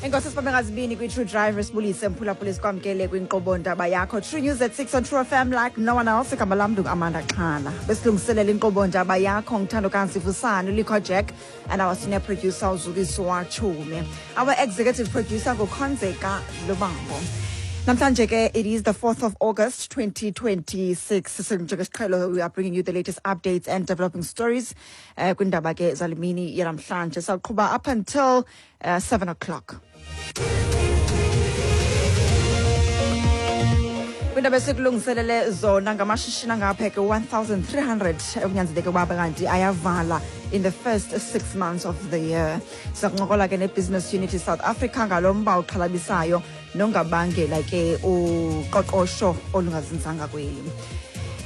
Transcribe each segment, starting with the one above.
Enkosi sibambe ngazibini kwi-True Driver, sibulise mphulaphula, sikwamkele kwinkqubo ndaba yakho True News at 6 on True FM like no one else. Igama lam ndingu-Amanda Xhala. Besilungiselela inkqubo ndaba yakho ngithandokazi Vusani Likho Jack and our senior producer uZukiswa Chume. Our executive producer nguKhonzeka Lubambo. Namhlanje ke it is the 4th of August 2026. Njengesiqhelo, we are bringing you the latest updates and developing stories kwindaba ke zalimini yanamhlanje. Sawuqhuba up until 7 o'clock. Kwindaba esikulungiselele zona, ngamashishini angapheke 1300 ekunyanzeleke ukuba kanti ayavala in the first 6 months of the year. Siza kuncokola ke ne-Business Unity South Africa ngalo mba uxhalabisayo nongabangela ke uqoqosho olungazinzanga kweli.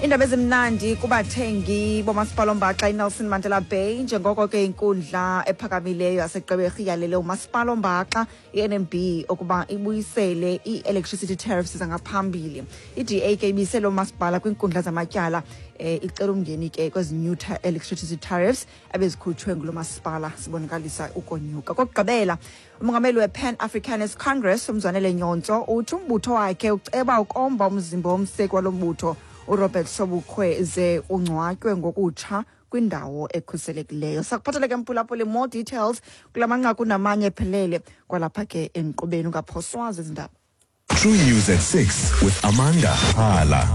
Iindaba ezimnandi kubathengi bomasipala ombaxa iNelson Mandela Bay, njengoko ke inkundla ephakamileyo yaseGqeberha iyalele umasipala ombaxa i-NMB ukuba ibuyisele ii-electricity tariffs zangaphambili. I-DA ke ibise lo masipala kwiinkundla zamatyala, icela umngeni ke kwezi new electricity tariffs ebezikhutshwe ngulo masipala sibonakalisa ukonyuka. Kokugqibela, umongameli we-Pan Africanist Congress uMzwanele Nyhontso uthi umbutho wakhe uceba ukomba umzimba womseki walo mbutho uRobert Sobukwe ze ungcwatywe ngokutsha kwindawo ekhuselekileyo. Sakuphathele ke mphulaphuli more details kula manqaku namanye ephelele kwalapha ke enkqubeni. Ungaphoswa zezi ndaba. True News at 6 with Amanda Hala.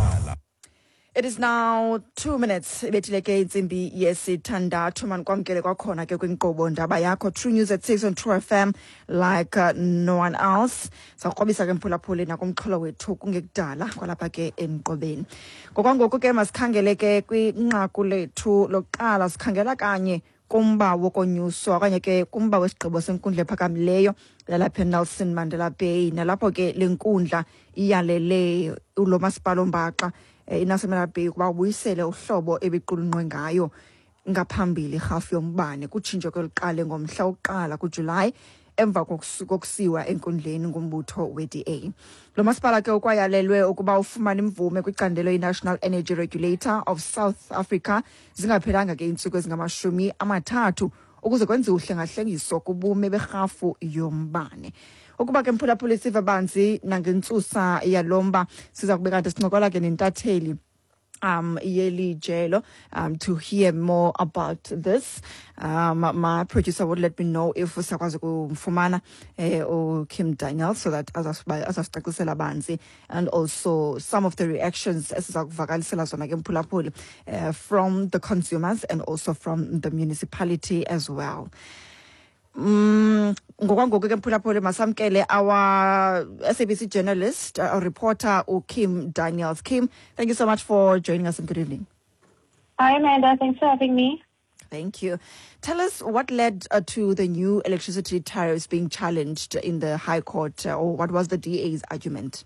It is now 2 minutes ibethile ke intsimbi yesithandathu. Manikwamkele kwakhona ke kwinkqubo ndaba yakho True News at 6 on True FM like no one else. Sawukrobisa ke mphulaphuli nakumxholo wethu kungekudala kwalapha ke enkqubeni. Ngokwangoku ke masikhangele ke kwinqaku lethu lokuqala. Sikhangela kanye kumba wokonyuswa okanye ke kumba wesigqibo senkundla ephakamileyo lalapha eNelson Mandela Bay, nalapho ke le nkundla iyalele ulo masipala ombaxa iNelson Mandela Bay ukuba ubuyisele uhlobo ebiqulunqwe ngayo ngaphambili irhafu yombane kutshintsho ke luqale ngomhla wokuqala kuJulayi emva kokusiwa enkundleni ngumbutho we-DA. Lo masipala ke ukwayalelwe ukuba ufumane imvume kwicandelo i-National Energy Regulator of South Africa zingaphelanga ke iintsuku ezingama-30 ukuze kwenziwe uhlengahlengiso kubume berhafu yombane. Ukuba ke mphulaphuli siva banzi nangentsusa yalo mba, siza kube kanti sincokola ke nentatheli yeli jelo to hear more about this. My producer would let me know if sakwazi ukumfumana uKim Daniel so that azasicacisela banzi and also some of the reactions esiza kuvakalisela zona ke mphulaphuli from the consumers and also from the municipality as well. Ngokwangoku ke mphulaphuli masamkele our SABC journalist, reporter uKim Daniels. Kim, thank you so much for joining us and good evening. Hi, Amanda. Thanks for having me. Thank you. Tell us what led to the new electricity tariffs being challenged in the High Court, or what was the DA's argument?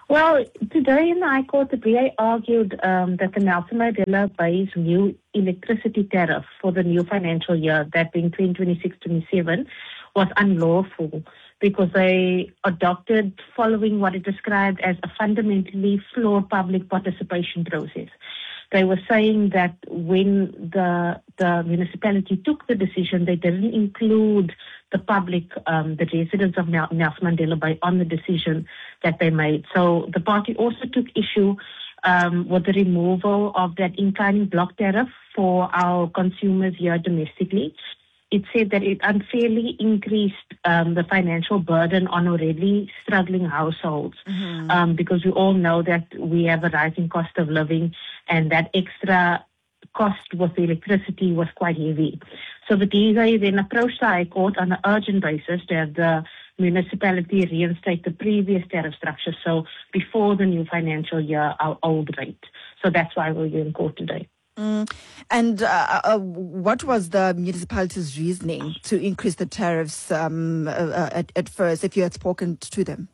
Well, today in the High Court, the DA argued that the Nelson Mandela Bay's new electricity tariff for the new financial year, that being 2026-27, was unlawful because they adopted following what it described as a fundamentally flawed public participation process. They were saying that when the municipality took the decision, they didn't include the public, the residents of Nelson Mandela Bay, on the decision that they made. So the party also took issue with the removal of that inclining block tariff for our consumers here domestically. It said that it unfairly increased the financial burden on already struggling households because we all know that we have a rising cost of living and that extra cost with the electricity was quite heavy. So the DA then approached the High Court on an urgent basis to have the municipality reinstate the previous tariff structure, so before the new financial year, our old rate. So that's why we're here in court today. And what was the municipality's reasoning to increase the tariffs at first, if you had spoken to them?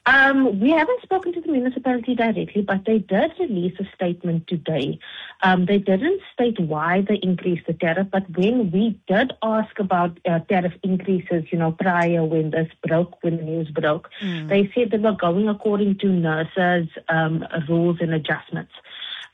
We haven't spoken to the municipality directly, but they did release a statement today. They didn't state why they increased the tariff, but when we did ask about tariff increases, prior when this broke, when the news broke, they said they were going according to NERSA's rules and adjustments.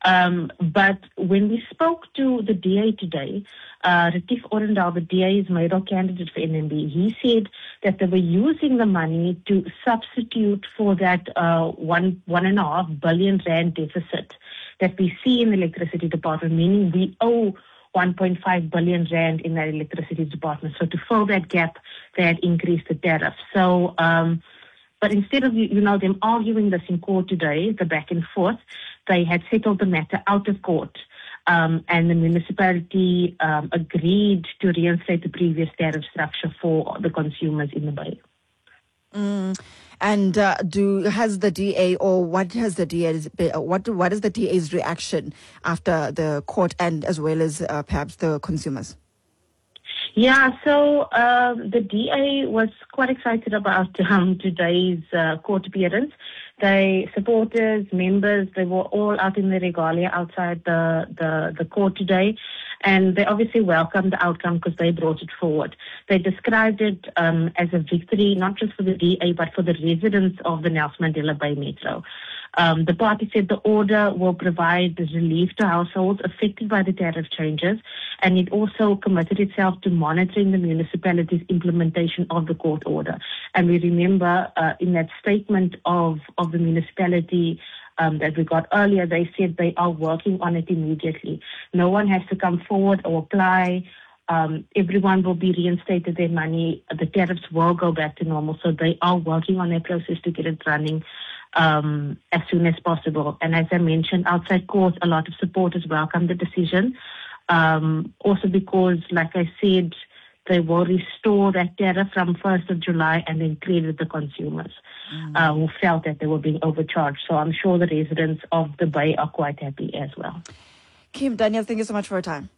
But when we spoke to the DA today, Retief Odendaal, the DA's mayoral candidate for NMB, he said that they were using the money to substitute for that 1.5 billion rand deficit that we see in the electricity department, meaning we owe 1.5 billion rand in that electricity department. So to fill that gap, they had increased the tariff. So, but instead of them arguing this in court today, the back and forth, they had settled the matter out of court. And the municipality agreed to reinstate the previous tariff structure for the consumers in the Bay. And do has the DA or what has the DA's what is the DA's reaction after the court and as well as perhaps the consumers? Yeah, so the DA was quite excited about today's court appearance. They supporters, members, they were all out in the regalia outside the court today. And they obviously welcomed the outcome because they brought it forward. They described it as a victory, not just for the DA, but for the residents of the Nelson Mandela Bay Metro. The party said the order will provide relief to households affected by the tariff changes, and it also committed itself to monitoring the municipality's implementation of the court order. And we remember in that statement of the municipality that we got earlier, they said they are working on it immediately. No one has to come forward or apply. Everyone will be reinstated their money. The tariffs will go back to normal. So they are working on their process to get it running as soon as possible. And as I mentioned, outside court, a lot of supporters welcomed the decision. Also because, like I said, they will restore that tariff from 1st of July and then credit the consumers who felt that they were being overcharged. So I'm sure the residents of the Bay are quite happy as well. Kim Daniels, thank you so much for your time.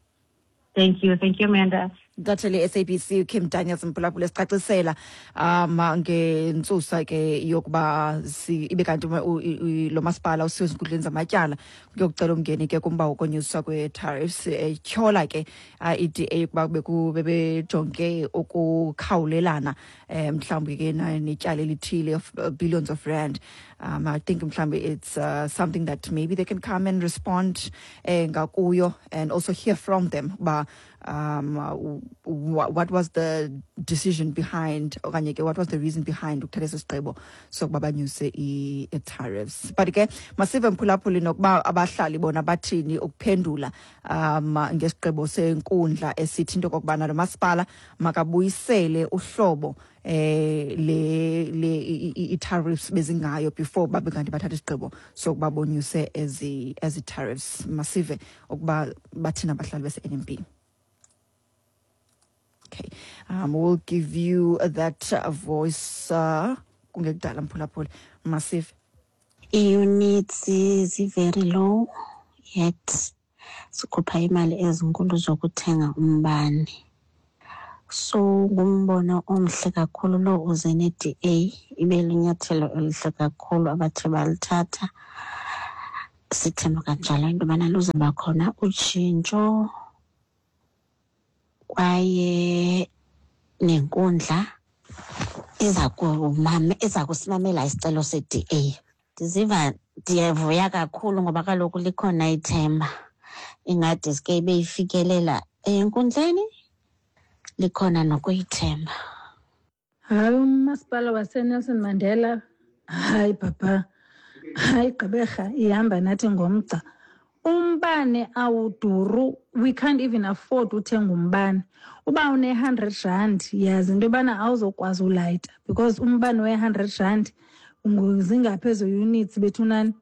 Thank you. Thank you, Amanda. Intatheli SABC Kim Daniels, mphulaphula, sicacisela ngentsusa ke yokuba ibe kanti lo masipala usiwe ezinkundleni zamatyala kuyokucela umngeni ke kumba wokonyuswa kwe-tariffs, etyhola ke i-DA ukuba bebejonge ukukhawulelana mhlawumbi ke netyala elithile of billions of rand. I think mhlawumbi it's something that maybe they can come and respond ngakuyo and also hear from them uba what was the decision behind okanye ke what was the reason behind ukuthatha esi sigqibo sokuba banyuse i-tariffs. But ke masive, mphulaphuli, nokuba abahlali bona bathini ukuphendula ngesigqibo senkundla esithi into okokubana lo masipala makabuyisele uhlobo le i-tariffs bezingayo before babe kanti bathatha isigqibo sokuba bonyuse ezi tariffs. Masive ukuba bathini abahlali bese-NMB. Okay, we'll give you that voice kungekudala, mphulaphuli. Masive. Ii-units zi-very low, yet sikhupha imali ezinkulu zokuthenga umbane. So ngumbono omhle kakhulu lo uze ne-DA, ibe lunyathelo elihle kakhulu abathe balithatha. Sithemba kanjalo into yobana luzawuba khona utshintsho kwaye nenkundla iza kusimamela isicelo se-DA. Ndiziva ndiyavuya kakhulu ngoba kaloku likhona ithemba. Ingade ke ibe ifikelela enkundleni, likhona nokuyithemba. Hayi, umasipala waseNelson Mandela, hayi papa, hayi, Gqeberha ihamba nathi ngomgca. Umbane awuduru, we can't even afford uthenga umbane. Uba une-R100, yazi into yobana awuzokwazi ulayita because umbane we-R100 zingaphi ezo units bethunani?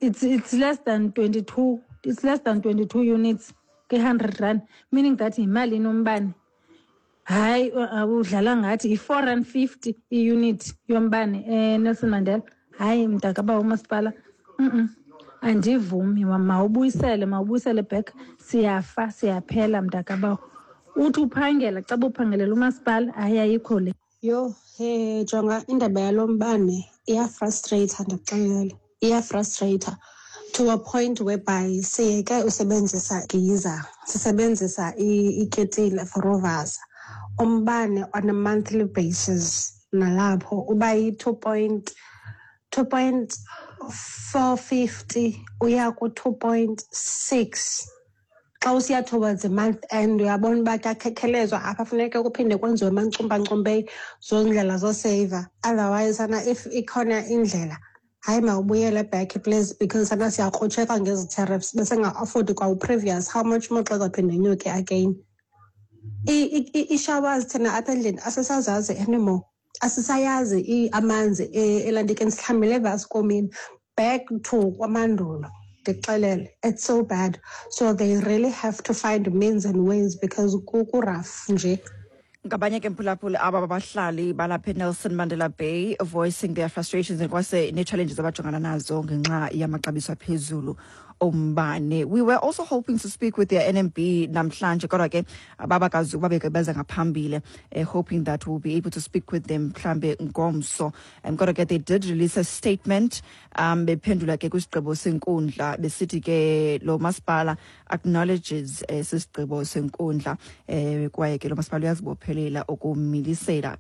It's less than 22, it's less than 22 units kwi-R100, meaning that yimalini umbane? Hayi, udlala ngathi. Yi-R4.50 i-unit yombane eNelson Mandela. Hayi mntakaba umasipala, Andivumi, mawubuyisele back. Siyafa, siyaphela, mntakabawo. Uthi uphangela, xa uphangelela umasipala, hayi, ayikho le. Yho, he, jonga, indaba yalo mbane iyafrustrate, ndikuxelele. Iyafrustrate to a point whereby siyeke usebenzisa giza, sisebenzisa iketile for uvasa. Umbane on a monthly basis nalapho uba yi-2.2 point 450 uya ku-2.6. Xa usiya towards the month end, uyabona uba kuyakhekhelezwa apha, funeke kuphinde kwenziwe mancumbancumbe zondlela zoseyiva. Otherwise sana, if ikhona indlela, hayi, mawubuyele back please, because sana siyakrutsheka ngezi tariffs besenga-affordi kwawu-previous, how much more xa izawuphinde inyuke again. Ii-showers thina apha endlini asisazazi anymore, asisayazi amanzi elantikeni, sihlambile evaskomini, back to kwamandulo, ndikuxelele. It's so bad, so they really have to find means and ways because ku-rough nje. Ngabanye ke, mphulaphuli, aba babahlali balapha eNelson Mandela Bay voicing their frustrations and kwase nee-challenges abajongana nazo ngenxa yamaxabiso aphezulu ombane. We were also hoping to speak with their NMB namhlanje, kodwa ke ababakazi ukuba beke ngaphambili, hoping that we'll be able to speak with them mhlambe ngomso. Kodwa ke they did release a statement bephendula ke kwisigqibo senkundla, besithi ke lo masipala acknowledges sisigqibo senkundla, kwaye ke lo masipala uyazibophelela ukumilisela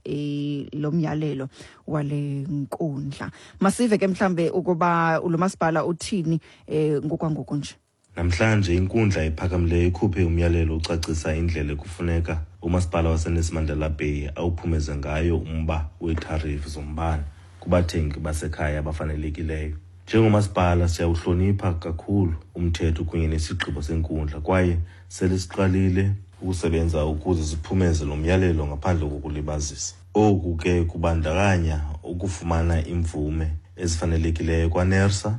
lo myalelo wale nkundla. Masive ke mhlambe ukuba lo masipala uthini ngokwangoku nje. Namhlanje inkundla ephakamileyo ikhuphe umyalelo ucacisa indlela ekufuneka umasipala waseNelson Mandela Bay awuphumeze ngayo umba weetharifu zombane kubathengi basekhaya abafanelekileyo. Njengomasipala siyawuhlonipha kakhulu umthetho kunye nesigqibo senkundla, kwaye sele siqalile ukusebenza ukuze siphumeze lo myalelo ngaphandle kokulibazisa. Oku ke kubandakanya ukufumana iimvume ezifanelekileyo kwaNERSA,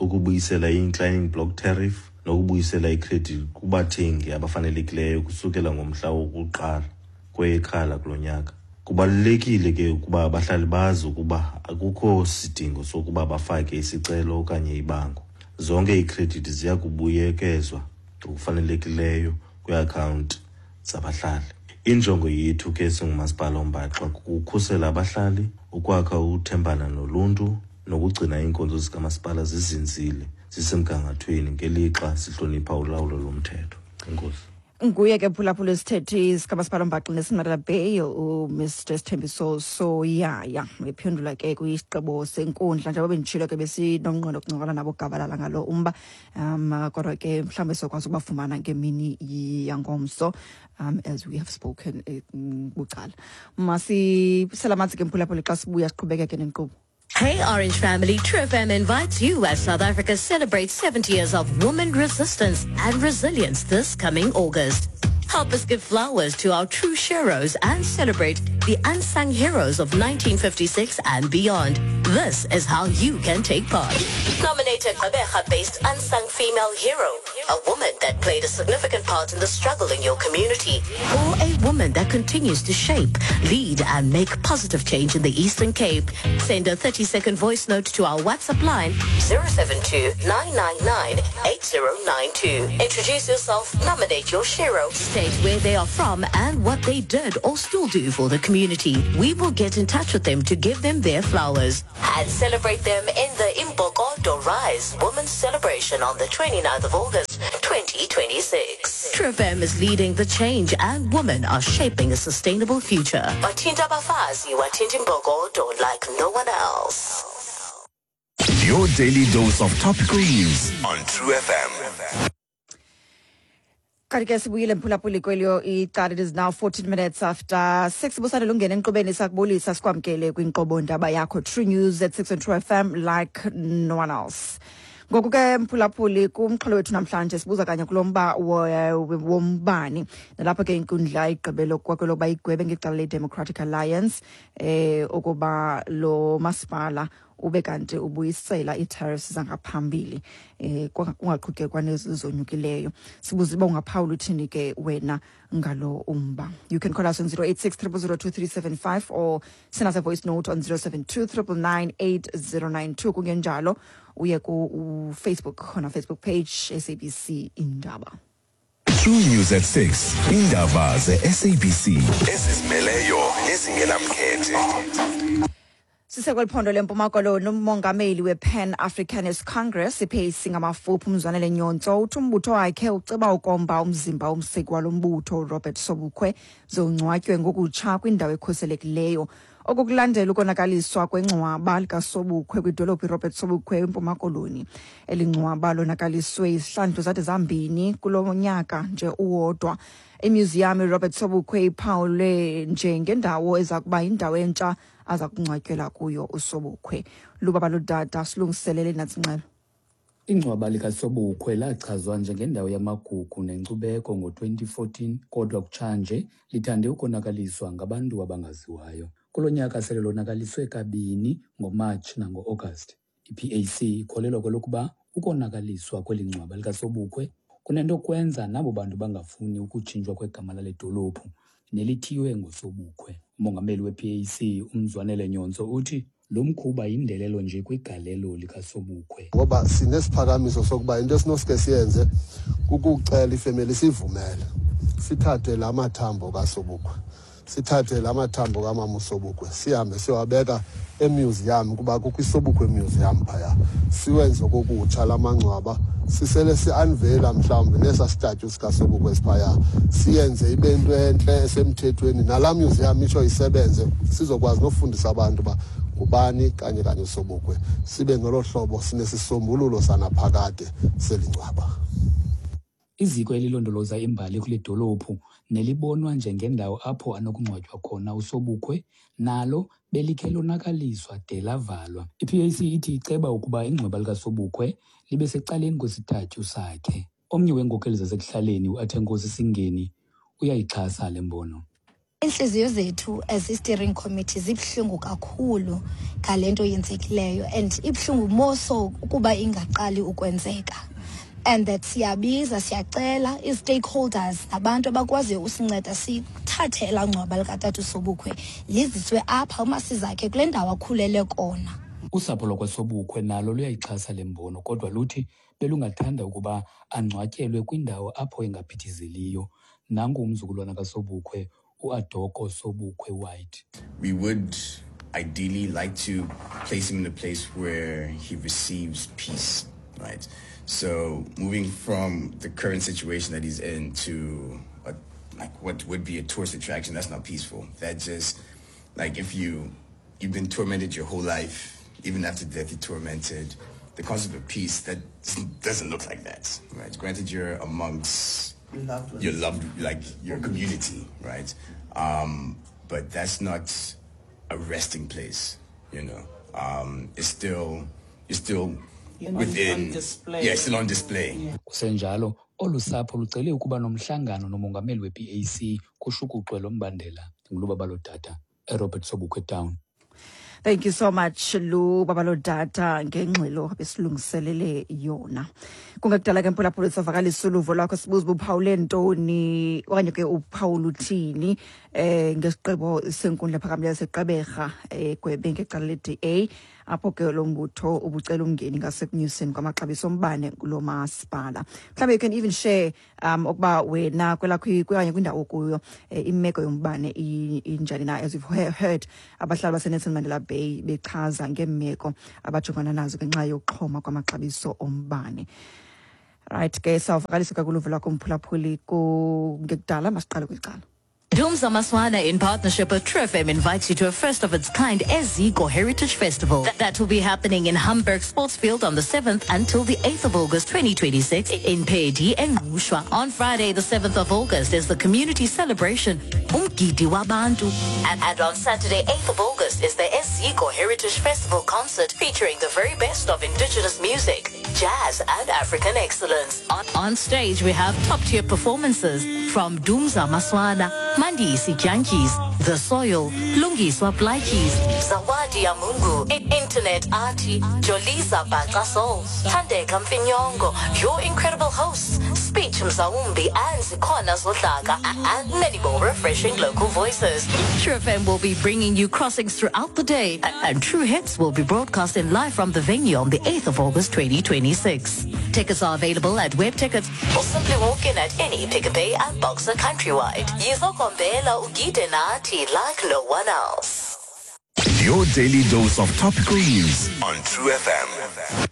ukubuyisela i-inclining block tariff nokubuyisela ikhredithi kubathengi abafanelekileyo kusukela ngomhla wokuqala kweyeKhala kulo nyaka. Kubalulekile ke ukuba abahlali bazi ukuba akukho sidingo sokuba bafake isicelo okanye ibango. Zonke iikhredithi ziya kubuyekezwa ngokufanelekileyo kwiiakhawunti zabahlali. Injongo yethu ke singumasipala ombaxa kukukhusela abahlali, ukwakha uthembana noluntu nokugcina iinkonzo zikamasipala zizinzile, zisemgangathweni, ngelixa sihlonipha ulawulo lomthetho. Enkosi. Nguye ke, phulaphula, isithethi sikamasipala ombaxa Nelson Mandela Bay, uMr Sithembiso Soyaya, ephendula ke kwisigqibo senkundla. Njengoba benditshilo ke, besinomnqweno wokuncokola nabo gabalala ngalo umba, kodwa ke mhlawumbi sokwazi ukubafumana ngemini yangomso, as we have spoken bucala. Masisela amanzi ke, mphulaphula, xa sibuya siqhubekeke nenkqubo. Hey Orange family, True FM invites you as South Africa celebrates 70 years of woman resistance and resilience this coming August. Help us give flowers to our true heroes and celebrate the unsung heroes of 1956 and beyond. This is how you can take part. Nominate a Gqeberha-based unsung female hero, a woman that played a significant part in the struggle in your community, or a woman that continues to shape, lead, and make positive change in the Eastern Cape. Send a 30-second voice note to our WhatsApp line 072 999 8092. Introduce yourself, nominate your hero, state where they are from and what they did or still do for the community. We will get in touch with them to give them their flowers and celebrate them in the Imbokodo Rise Women's Celebration on the 29th of August, 2026. True FM is leading the change and women are shaping a sustainable future. Wathinta abafazi, wathinta imbokodo like no one else. Your daily dose of topical news on True FM. Kanti ke sibuyile, mphulaphuli, kwelyo icala. It is now 14 minutes after 6. Busane lungena enkqubeni, sakubulisa, sikwamkele kwinkqubo Ndaba Yakho, True News at 6 on True FM, like no one else. Ngoku ke, mphulaphuli, kumxholo wethu namhlanje sibuza kanye kulo mba wombane, nalapho ke inkundla igqibelo kwakelokuba igwebe ngecala le-Democratic Alliance ukuba lo masipala ube kanti ubuyisela ii-tariffs zangaphambili, kungaqhutyekwa nezi zonyukileyo. Sibuza uba ungaphawula uthini ke wena ngalo umba. You can call us on 086 000 2375 or send us a voice note on 072 999 8092. Kungenjalo uye ku-Facebook, khona Facebook page SABC Indaba. True News at 6. Indaba ze-SABC ezizimeleyo nezingenamkhethe. Sisekweli phondo leMpuma Koloni, umongameli we-Pan Africanist Congress, iPAC ngamafuphi, uMzwanele Nyhontso, uthi umbutho wakhe uceba ukomba umzimba womseki walo mbutho, Robert Sobukwe, zongcwatywe ngokutsha kwindawo ekhuselekileyo. Oku kulandela ukonakaliswa kwengcwaba likaSobukhwe kwidolophu iRobert Sobukwe eMpuma Koloni. Eli ngcwaba lonakaliswe izihlandlo zade zambini kulo nyaka nje uwodwa. Imyuziyam iRobert Sobukwe iphawulwe njengendawo eza kuba yindawo entsha aza kungcwatyelwa kuyo uSobukhwe. Lubaba Ludada silungiselele nantsi ingxelo. Ingcwaba likaSobukhwe lachazwa njengendawo yamagugu nenkcubeko ngo-2014 kodwa kutshanje lithande ukonakaliswa ngabantu abangaziwayo. Kulo nyaka sele lonakaliswe kabini ngoMatshi nango-Agasti. I-PAC ikholelwa kwelokuba ukonakaliswa kweli ngcwaba likaSobukhwe kunento kwenza nabo bantu bangafuni ukutshintshwa kwegama lale dolophu nelithiywe ngoSobukhwe. Umongameli we-PAC uMzwanele Nyhontso uthi lo mkhuba yindelelo nje kwigalelo likaSobukhwe. Ngoba sinesiphakamiso sokuba into esinosike siyenze kukucela ifemeli sivumele sithathe la mathambo kaSobukhwe, sithathe la mathambo kamama uSobukhwe sihambe siyowabeka emuseum, kuba kukho iSobukhwe Museum phaya, siwenze kokutsha la mangcwaba, sisele si-unveila mhlawumbi nesa statue sikaSobukhwe esiphaya, siyenze ibe into entle esemthethweni, nalaa museum itsho isebenze, sizokwazi nofundisa abantu uba ngubani kanye kanye uSobukhwe, sibe ngolo hlobo sinesisombululo sanaphakade selingcwaba. Iziko elilondoloza imbali kule dolophu nelibonwa njengendawo apho anokungcwatywa khona uSobukhwe nalo belikhe lonakaliswa de lavalwa. I-PAC ithi iceba ukuba ingcwaba likaSobukhwe libe secaleni kwesitatyu sakhe. Omnye weenkokeli zasekuhlaleni uAthenkosi Singeni uyayixhasa le mbono. Iintliziyo zethu as i-steering committee zibuhlungu kakhulu ngale nto yenzekileyo, and ibuhlungu more so ukuba ingaqali ukwenzeka, and that siyabiza siyacela ii-stakeholders nabantu abakwaziyo usinceda sithathe elaa ngcwaba likatata uSobukhwe liziswe apha uMasizakhe kule ndawo akhulele kona. Usapho lwakwaSobukhwe nalo luyayixhasa le mbono, kodwa luthi belungathanda ukuba angcwatyelwe kwindawo apho engaphithizeliyo. Nangu umzukulwana kaSobukhwe uAdoko Sobukhwe White. We would ideally like to place him in a place where he receives peace, right? So moving from the current situation that he's in to what would be a tourist attraction, that's not peaceful. That just, like if you've been tormented your whole life, even after death you're tormented, the concept of peace, that doesn't look like that, right? Granted, you're amongst your loved, like your community, right? But that's not a resting place, you know. It's still, you're still within, on display. Yeah, it's still on display. Yeah. Kusenjalo, olu sapho lucele ukuba nomhlangano nomongameli we-PAC kushukuxwe lo mbandela. Ngulubabalo Dada, eRobert Sobukwe Town. Thank you so much Lubabalo Dada ngengxelo besilungiselele yona. Kungekudala ke mphulaphula savakalisa uluvo lwakho, sibuza uba uphawule ntoni okanye ke uphawula uthini ngesigqibo senkundla ephakamileyo seGqeberha egwebe ngecala le-DA, apho ke lo mbutho ubucela umngeni ngasekunyuseni kwamaxabiso ombane kulo masipala. Mhlawumbe you can even share ukuba wena kwelakho okanye kwindawo okuyo imeko yombane injani na, as we've heard abahlali baseNelson Mandela Bay bechaza ngeemeko abajongana nazo ngenxa yokuxhoma kwamaxabiso ombane. Right ke, sawuvakalisa kakuluvo lwakho mphulaphuli kungekudala. Masiqale kwicala. Dumza Maswana, in partnership with True FM, invites you to a first of its kind Eziko Heritage Festival that will be happening in Hamburg Sportsfield on the 7th until the 8th of August 2026 in Pedi and Ngqushwa. On Friday, the 7th of August, is the community celebration Umgidi Wabantu. And on Saturday, 8th of August, is the Eziko Heritage Festival concert featuring the very best of indigenous music, jazz, and African excellence. On stage, we have top-tier performances from Dumza Maswana, Mandisi Jantjies, The Soil, Lungiswa Plaatjies, Zawadi Amungu, Internet Artie, Jolisa Baqasol, Thandeka Mfinyongo, your incredible hosts, Speech Mzaumbi and Zikona Zodlaka, and many more refreshing local voices. True FM will be bringing you crossings throughout the day, and True Hits will be broadcasting live from the venue on the 8th of August 2026. Tickets are available at Web Tickets or simply walk in at any Pick n Pay and Boxer countrywide. Yizokombela ugide nathi like no one else. Your daily dose of topical news on True FM.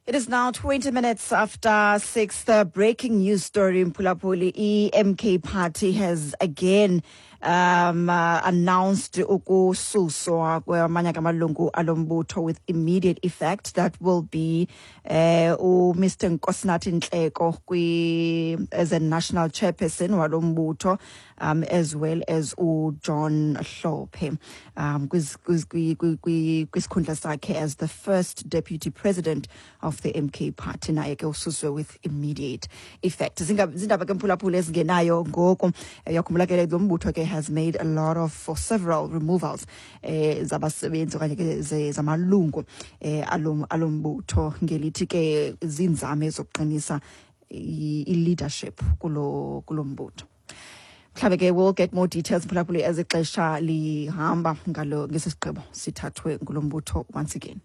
It is now 20 minutes after 6. The breaking news story in Pulapuli, EMK party has again announced ukususwa kwamanye amalungu alombutho with immediate effect. That will be uMr Nkosinathi Nhleko kwi as a national chairperson walombutho, as well as uJohn Hlophe kwisikhundla sakhe as the first deputy president of the MK party, naye ke ususwe with immediate effect. Zindaba ke, mphulaphula, ezingenayo ngoku. Uyakhumbula ke lo mbutho ke has made a lot of for several removals zabasebenzi okanye ke zamalungu alombutho, ngelithi ke zinzame zokuqinisa i-leadership kulo mbutho. Mhlawumbe ke we'll get more details, mphulaphuli, as ixesha lihamba ngalo ngesi sigqibo sithathwe ngulo mbutho once again.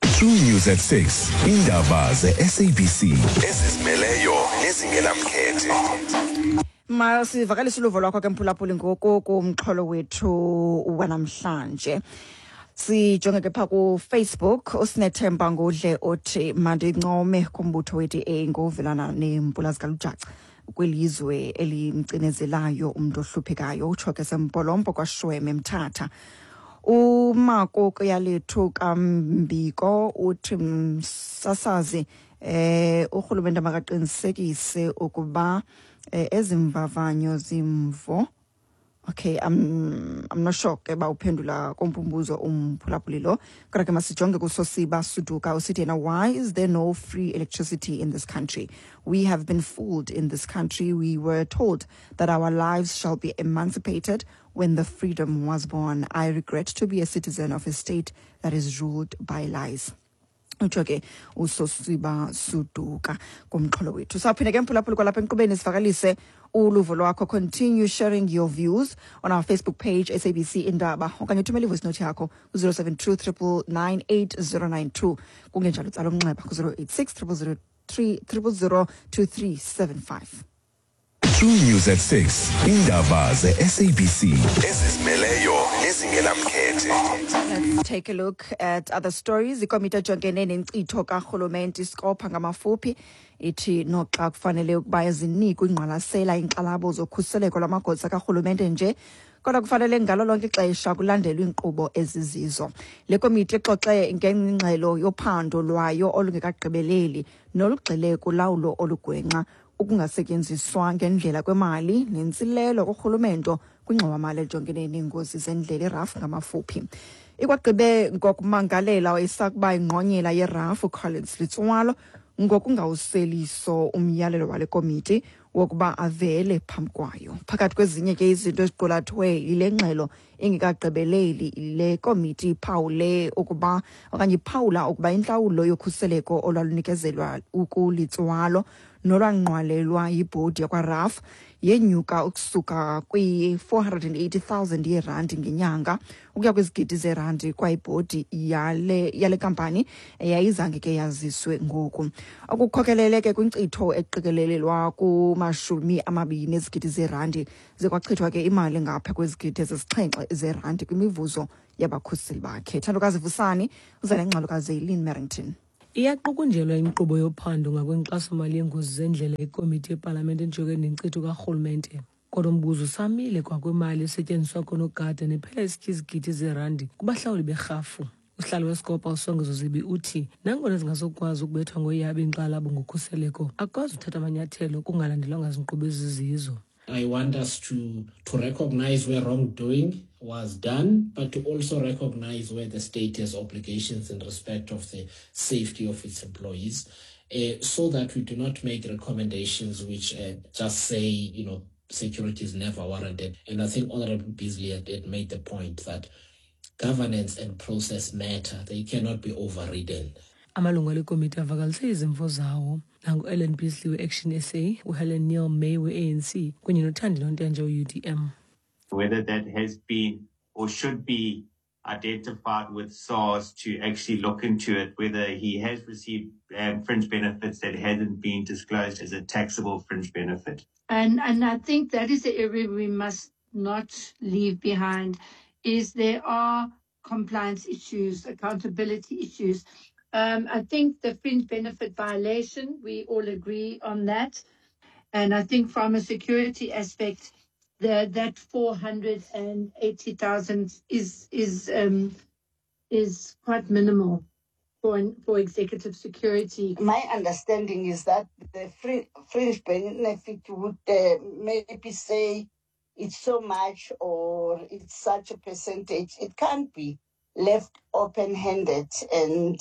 True News at 6. Indaba ze-SABC ezizimeleyo nezingenamkhethe. Masivakalise uluvo lwakho ke, mphulaphuli, ngoku kumxholo wethu wanamhlanje. Sijonge ke phaa kuFacebook. USinethemba Ngudle othi mandincome kumbutho we-DA ngovelana neempula zikalujaca kwilizwe elimcinezelayo umntu ohluphekayo. Utsho ke sempolompo kwaShweme, Mthatha. UMako Kuyalethu Kambiko uthi msasazi, urhulumente makaqinisekise ukuba ezimvavanyo zimvo. Okay, I'm not sure ke ba uphendula kompumbuzo umphulaphuli lo, kodwa ke masijonge kuSosiba Suduka. Usithi yena, "Why is there no free electricity in this country? We have been fooled in this country. We were told that our lives shall be emancipated when the freedom was born. I regret to be a citizen of a state that is ruled by lies." Utsho ke uSosiba Suduka kumxholo wethu. Sawuphinde ke, mphulaphuli, kwalapha enkqubeni sivakalise uluvo lwakho. Continue sharing your views on our Facebook page, SABC Indaba, okanye uthumele ivoice note yakho ku-072 999 8092. Kungenjalo utsala umnxeba ku-086 000 000 2375. True News at 6. Indaba ze-SABC ezizimeleyo nezingenamkhethe. Let's take a look at other stories. Ikomiti ejongene nenkcitho karhulumente, iSCOPA ngamafuphi, ithi noxa kufanele ukuba zinikwe ingqwalasela iinkxalabo zokhuseleko lwamagosa karhulumente nje, kodwa kufanele ngalo lonke ixesha kulandelwe iinkqubo ezizizo. Le komiti ixoxe ngengxelo yophando lwayo olungekagqibeleli nolugxile kulawulo olugwenxa, ukungasetyenziswa ngendlela kwemali nentsilelo kurhulumento kwingxowamali ejongene neengozi zendlela, iRAF ngamafuphi. Ikwagqibe ngokumangalela isakuba ingqonyela yeRAF uCollins Letsoalo ngokungawuseliso umyalelo wale komiti wokuba avele phambi kwayo. Phakathi kwezinye ke izinto eziqulathwe yile ngxelo ingekagqibeleli, le komiti iphawule ukuba okanye iphawula ukuba intlawulo yokhuseleko olwalunikezelwa ukuLetsoalo nolwanqwalelwa yibhodi yakwaRAF yenyuka ukusuka kwi-480 000 yeerandi ngenyanga ukuya kwizigidi zeerandi kwayibhodi yale kampani yayizange ke yaziswe ngoku, okukhokelele ke kwinkcitho eqikelelelwa kuma-20 ezigidi zeerandi. Zikwachithwa ke imali ngapha kwezigidi ezisixhenxe zeerandi kwimivuzo yabakhuseli bakhe. Thandokazi Vusani uza nengxelo kaZeylin Merrington. Iyaqukunjelwa inkqubo yophando ngakwinkxasomali yengozi zendlela ikomiti yepalamente ejongene nenkcitho karhulumente. Kodwa umbuzo usamile kwakwimali esetyenziswa koonogada nephela isitya izigidi zeerandi kubahlawuli berhafu. Usihlalo weSCOPA uSongezo Zibi uthi nangona zingasokwazi ukubethwa ngoyaba iinkxalabo ngokhuseleko, akukwazi uthatha amanyathelo kungalandelwanga zinkqubo ezizizo. I want us to recognize where wrongdoing was done, but to also recognize where the state has obligations in respect of the safety of its employees, so that we do not make recommendations which just say security is never warranted. And I think Honorable Beasley had made the point that governance and process matter. They cannot be overridden. Amalungu ale komiti avakalise izimvo zawo nangu-Ellen Beasley we-Action SA, uHelen Neal May we-ANC kunye noThandi Nontenje we-UDM. Whether that has been or should be identified with SARS to actually look into it, whether he has received fringe benefits that hasn't been disclosed as a taxable fringe benefit. And I think that is the area we must not leave behind, is there are compliance issues, accountability issues. I think the fringe benefit violation, we all agree on that. And I think from a security aspect, The, that 480,000 is is um, is quite minimal for for executive security. My understanding is that the fringe benefit would uh, maybe say it's so much or it's such a percentage. It can't be left open handed and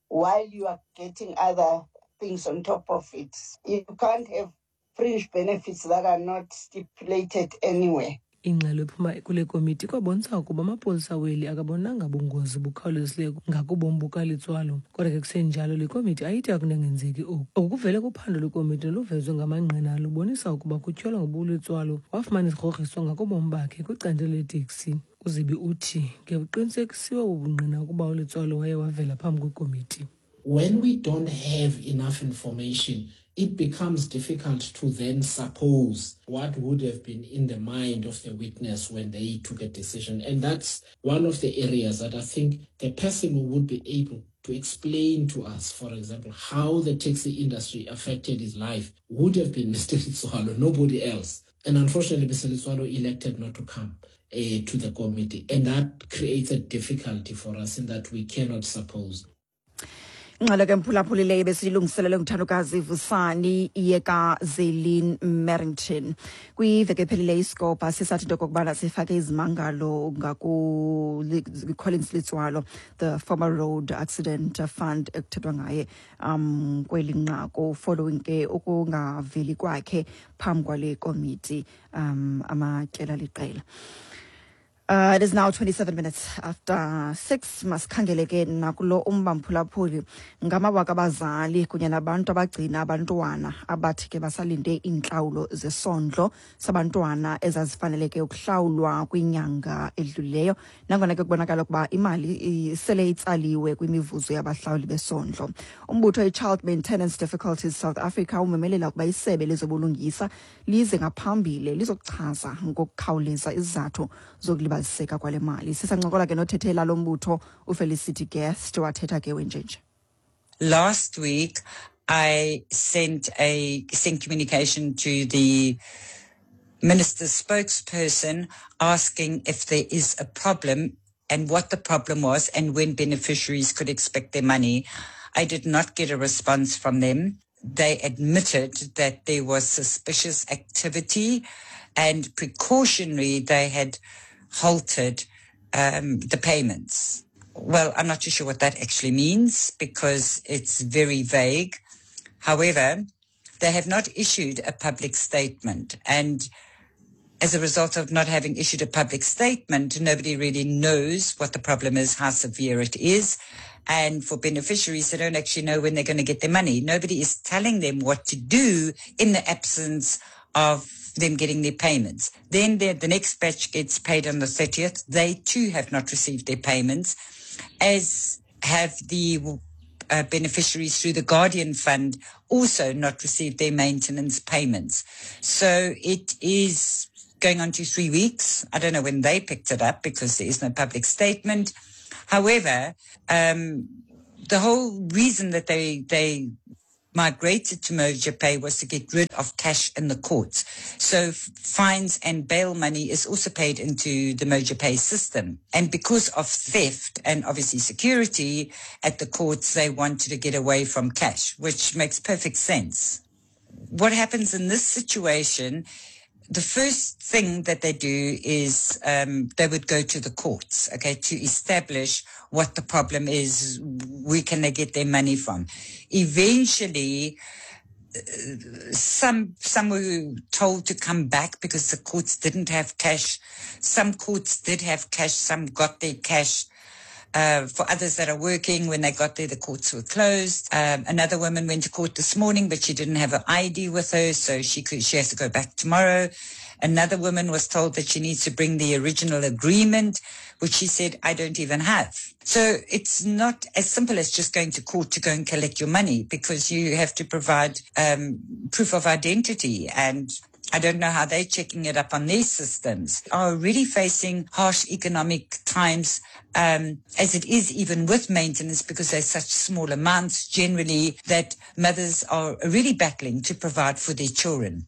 while you are getting other things on top of it. You can't have fringe benefits that are not stipulated anywhere. Ingxelo ephuma kule komiti ikwabonisa ukuba amapolisa weli akabonanga bungozi bukhawulezileyo ngakubomi bukaLetsoalo. Kodwa ke kusenjalo le komiti ayithi akunangenzeki oku. Oku kuvele kuphando lwekomiti noluvezwe ngamangqina lubonisa ukuba kutyholwa ngoba uLetsoalo wafumana izigrogriso ngakubomi bakhe kwicandelo leteksi. UZibi uthi ngekuqinisekisiwe bubungqina ukuba uLetsoalo waye wavela phambi kwekomiti. When we don't have enough information, it becomes difficult to then suppose what would have been in the mind of the witness when they took a decision. And that's one of the areas that I think the person who would be able to explain to us, for example, how the taxi industry affected his life would have been Mr. Letsoalo, nobody else. And unfortunately, Mr. Letsoalo elected not to come to the committee. And that creates a difficulty for us in that we cannot suppose. Ingxelo ke mphulaphulileyo besiyilungiselele nguthandokazi Vusani yekaZelin Merrington. Kwiveki ephelileyo iScopa sisathi into okokubana sifake izimangalo ngakuCollins Letsoalo, the former Road Accident Fund ekuthethwa ngaye kweli nqaku following ke ukungaveli kwakhe phambi kwale komiti amatyela liqela. It is now 27 minutes after 6. Masikhangele ke nakulo umba mphulaphuli ngamawaka abazali kunye nabantu abagcina abantwana abathi ke basalinde iintlawulo zesondlo sabantwana ezazifaneleke ukuhlawulwa kwinyanga edlulileyo, nangona ke kubonakala ukuba imali sele itsaliwe kwimivuzo yabahlawuli besondlo. Umbutho i-Child Maintenance Difficulties South Africa umemelela ukuba isebe lezobulungisa lize ngaphambili lizokuchaza ngokukhawuleza izizathu zokulibaziseka kwale mali. Sisancokola ke nothethela lo mbutho uFelicity Guest, wathetha ke wenjenje. Last week, I sent a sent communication to the minister's spokesperson asking if there is a problem and what the problem was and when beneficiaries could expect their money. I did not get a response from them. They admitted that there was suspicious activity and precautionary they had halted the payments. Well, I'm not too sure what that actually means because it's very vague. However, they have not issued a public statement. And as a result of not having issued a public statement, nobody really knows what the problem is, how severe it is. And for beneficiaries, they don't actually know when they're going to get their money. Nobody is telling them what to do in the absence of them getting their payments. Then the, the next batch gets paid on the 30th. They too have not received their payments, as have the beneficiaries through the Guardian Fund also not received their maintenance payments. So it is going on to 3 weeks. I don't know when they picked it up because there is no public statement. However, the whole reason that they migrated to Moja Pay was to get rid of cash in the courts. So fines and bail money is also paid into the Moja Pay system. And because of theft and obviously security at the courts, they wanted to get away from cash, which makes perfect sense. What happens in this situation, the first thing that they do is they would go to the courts, okay, to establish what the problem is, where can they get their money from. Eventually, some were told to come back because the courts didn't have cash. Some courts did have cash. Some got their cash. For others that are working, when they got there, the courts were closed. Another woman went to court this morning, but she didn't have her ID with her, so she has to go back tomorrow. Another woman was told that she needs to bring the original agreement, which she said, I don't even have. So it's not as simple as just going to court to go and collect your money because you have to provide proof of identity, and I don't know how they're checking it up on their systems. Are really facing harsh economic times as it is, even with maintenance, because they're such small amounts generally that mothers are really battling to provide for their children.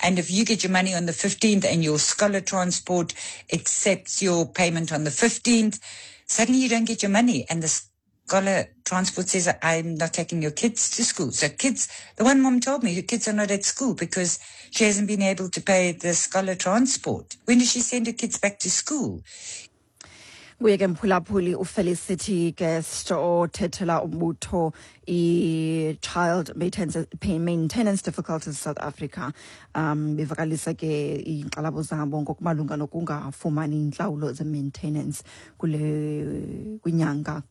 And if you get your money on the 15th and your scholar transport accepts your payment on the 15th, suddenly you don't get your money. And the scholar transport says, I'm not taking your kids to school. So kids, the one mom told me, her kids are not at school because she hasn't been able to pay the scholar transport. When does she send her kids back to school? Nguye ke mphulaphuli uFelicity Guest othethela umbutho i-Child Maintenance Difficulties South Africa, bevakalisa ke iinkxalabo zabo ngokumalunga nokungafumani iintlawulo ze-maintenance kule kwinyanga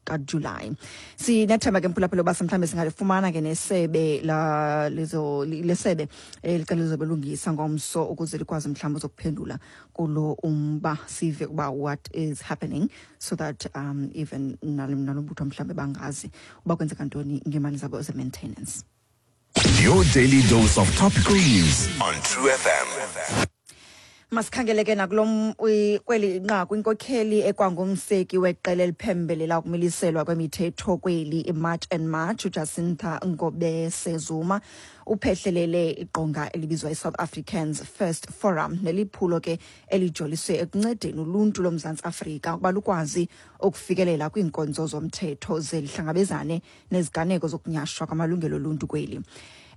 kaJulayi. Sinethemba ke mphulaphuli uba mhlawumbi singalifumana ke nesebe la lezo lesebe elicela lizobelungisa ngomso ukuze likwazi mhlawumbi uzokuphendula kulo umba, sive ukuba what is happening, so that even nalo mbutho mhlawumbi bangazi uba kwenzeka ntoni ngeemali zabo ze-maintenance. Your daily dose of topical news on True FM. Masikhangele ke nakulo kweli nqaku. Inkokheli ekwangumseki weqela eliphembelela ukumiliselwa kwemithetho kweli, iMarch and March, uJacinta Ngobese Zuma, uphehlelele iqonga elibizwa iSouth Africans First Forum, neliphulo ke elijoliswe ekuncedeni uluntu loMzantsi Afrika ukuba lukwazi ukufikelela kwiinkonzo zomthetho ze lihlangabezane neziganeko zokunyashwa kwamalungelo oluntu kweli.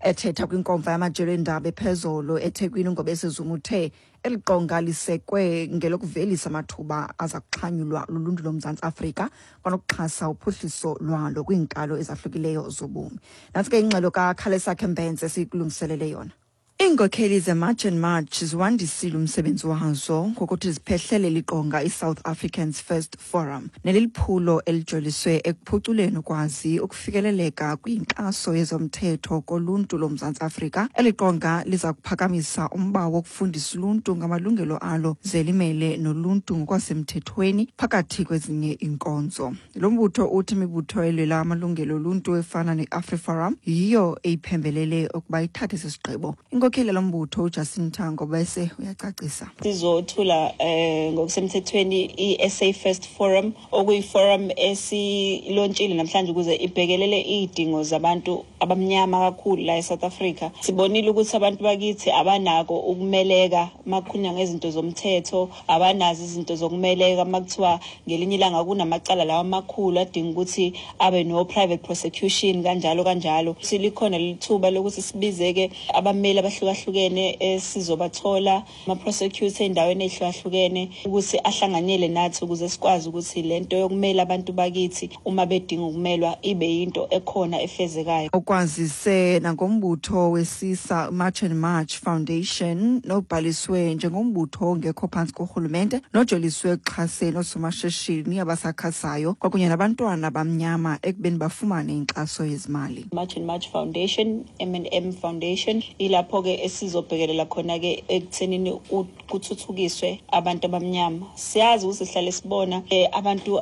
Ethetha kwinkomfa yamajelo eendaba ephezolo eThekwini, uNgobese Zuma uthe eli qonga lisekwe ngelokuvelisa amathuba aza kuxhanyulwa luluntu loMzantsi Afrika kwanokuxhasa uphuhliso lwalo kwiinkalo ezahlukileyo zobomi. Nantsi ke ingxelo kaKhalesakhe Mbentse esikulungiselele yona. Iinkokheli zeMarch and March ziwandisile umsebenzi wazo ngokuthi ziphehlelele iqonga iSouth Africans First Forum, neliliphulo elijoliswe ekuphuculeni ukwazi ukufikeleleka kwinkxaso yezomthetho koluntu loMzantsi Afrika. Eli qonga liza kuphakamisa umba wokufundisa uluntu ngamalungelo alo ze limele noluntu ngokwasemthethweni phakathi kwezinye iinkonzo. Lo mbutho uthi imibutho elwela amalungelo oluntu efana ne-AfriForum yiyo eyiphembelele ukuba ithathe esi sigqibo. Inkokheli yalo mbutho uJacinta Ngobese uyacacisa. Sizothula ngokusemthethweni i-SA First Forum, okuyi-forum esilontshile namhlanje ukuze ibhekelele iy'dingo zabantu abamnyama kakhulu la eSouth Africa. Sibonile ukuthi abantu bakithi abanako ukumeleka makukhulunywa ngezinto zomthetho, abanazo izinto zokumeleka makuthiwa ngelinye ilanga kunamacala lawa amakhulu adinga ukuthi abe no private prosecution, kanjalo kanjalo. Silikhona lithuba lokuthi sibizeke abameli abahlukahlukene esizobathola, ama-prosecutor ey'ndaweni ey'hlukahlukene, ukuthi ahlanganyele nathi ukuze sikwazi ukuthi lento yokumela abantu bakithi uma bedinga ukumelwa ibe yinto ekhona efezekayo. Ukwazise nangombutho wesisa March and March Foundation nobhaliswe njengombutho ongekho phantsi korhulumente nojoliswe ekuxhaseni oosomashishini abasakhasayo kwakunye nabantwana abamnyama ekubeni bafumane inkxaso yezimali. March and March Foundation, M&M Foundation, ilapho-ke esizobhekelela khona-ke ekuthenini kuthuthukiswe abantu abamnyama. Siyazi ukuthi sihlale sibona abantu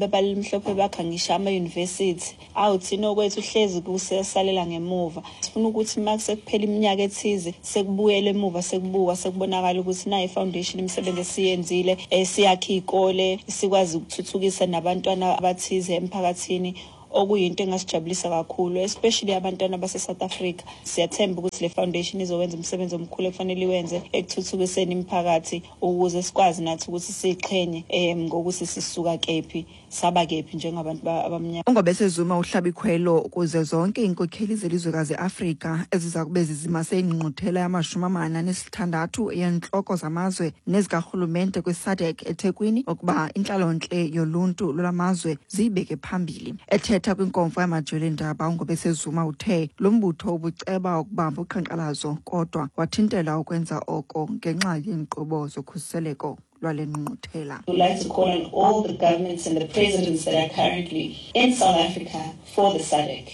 abalimhlophe bakha ngisho ama-university, awu thina okwethu hlezi kusesalela ngemuva. Sifuna ukuthi uma sekuphela iminyaka ethize sekubuyele emuva, sekubuka sekubonakala ukuthi nayi i-foundation imisebenzi esiyenzile, siyakha iy'kole, sikwazi ukuthuthukisa nabantwana abathize emphakathini, okuyinto engasijabulisa kakhulu, especially abantwana base-South Africa. Siyathemba ukuthi le foundation izowenza umsebenzi omkhulu ekufanele iwenze ekuthuthukiseni imiphakathi ukuze sikwazi nathi ukuthi siqhenye ngokuthi sisuka kephi saba kephi njengabantu abamnyama. UNgobese Zuma uhlaba ikhwelo ukuze zonke iinkokheli zelizwekazi Afrika eziza kube zizimase ingqungquthela yama-46 yentloko zamazwe nezikarhulumente kwiSADC eThekwini ukuba intlalontle yoluntu lwalamazwe ziyibeke phambili. Ethetha kwinkomfa yamajelo eendaba, uNgobese Zuma uthe lo mbutho ubuceba ukubamba uqhankqalazo kodwa wathintela ukwenza oko ngenxa yeenkqubo zokhuseleko lwale ngqungquthela. We would like to call on all the governments and the presidents that are currently in South Africa for the SADC.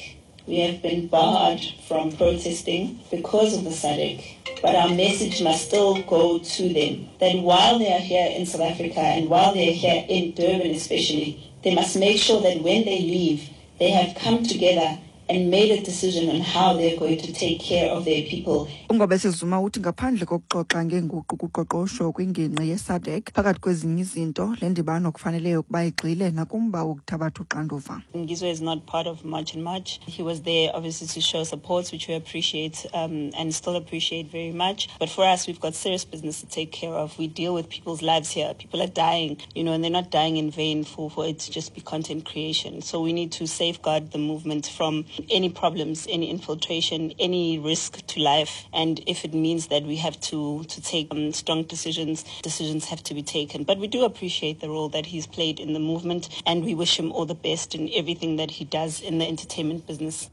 We have been barred from protesting because of the SADC, but our message must still go to them that while they are here in South Africa and while they are here in Durban especially, they must make sure that when they leave, they have come together and made a decision on how they're going to take care of their people. UNgobese Zuma uthi ngaphandle kokuxoxa ngeenguqu kuqoqosho kwingingqi yeSADC, phakathi kwezinye izinto, le ndibano kufanele ukuba igxile nakumba wokuthabatha uxanduva. Ngizwe is not part of March and March. He was there obviously to show support, which we appreciate and still appreciate very much. But for us, we've got serious business to take care of. We deal with people's lives here. People are dying, and they're not dying in vain for it to just be content creation. So we need to safeguard the movement from any problems, any infiltration, any risk to life. And if it means that we have to take strong decisions, decisions have to be taken. But we do appreciate the role that he's played in the movement, and we wish him all the best in everything that he does in the entertainment business.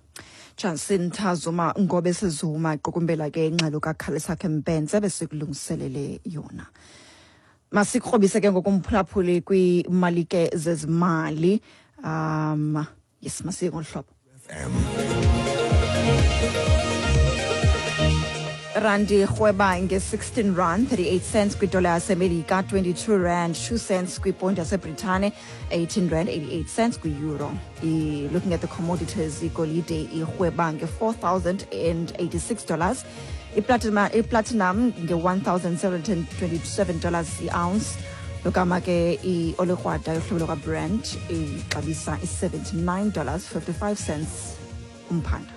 Jacinta Zuma Ngobese Zuma iqukumbela ke ingxelo kaKhalisakhe Mbhense besikulungiselele yona. Masikrobise ke ngokumphulaphuli kwiimalike zezimali. Yes, masiye ngolu hlobo. Randi irhweba nge-16 rand 38 cents kwidola yaseMelika, 22 rand 2 cents kwiponti yaseBritane, 18 rand 88 cents kwi-euro. Looking at the commodities, igolide irhweba nge-$4,086, iplatinum nge-$1,727 i-ounce, logama ke i-olikrwada yohlobo lwaKwaBrent ixabisa i-$79.55 umphanda.